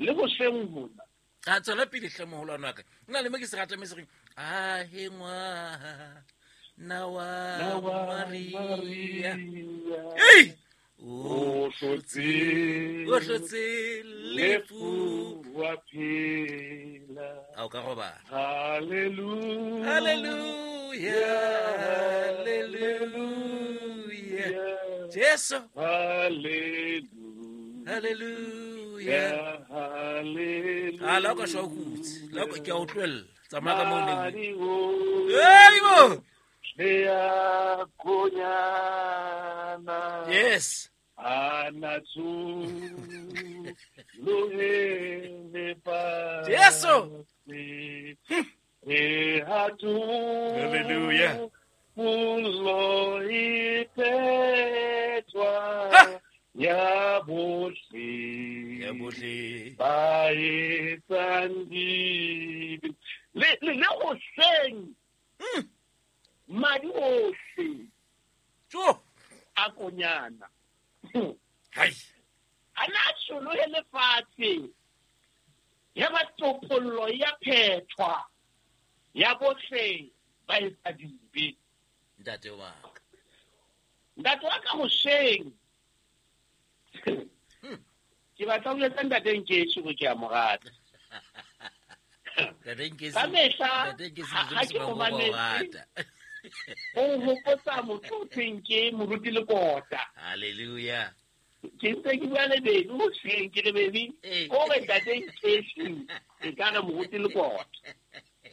Le hoseng hona. A tswela pele hle moholwane wa ka. Nna le mo ke se rata me se reng ahe ngwana wa Maria. Ei! O hlotse o hlotse lefu wa phela. A o ka robala. Hallelujah. Hallelujah. Hallelujah. Jesu. Hallelujah. Hallelujah. Hallelujah. A la o ka shwa o kutse. La ke a o tlohella. Tsamaya ka moo o neng. Madi Hey bo. ohle a konyana. Yes. A na tsholohele fatshe. Jesu. E ha Hallelujah. Pollo e phethwa Ha. ya bohle. Ya bohle. Ba etsang dibe. Le hoseng. Madi ohle Tjo. a konyana. Hai. A na tsholohe lefatshe. Ya ba topollo ya phethwa ya bohle ba etsa dibe. Ntate wa ka. Ntate wa ka hoseng. Ke batla ho etsa ntate Nkeshi hore ke a mo rata. Ntate Nkeshi. Ka mehla, Ntate Nkeshi ha ke mo mo mametse. rata. O nhopotsa motho o thweng ke Moruti Lekota. Hallelujah. Ke ntse ke bua le baby hoseng, ke re baby, Ee. o re ntate Nkeshi e ka re Moruti Lekota.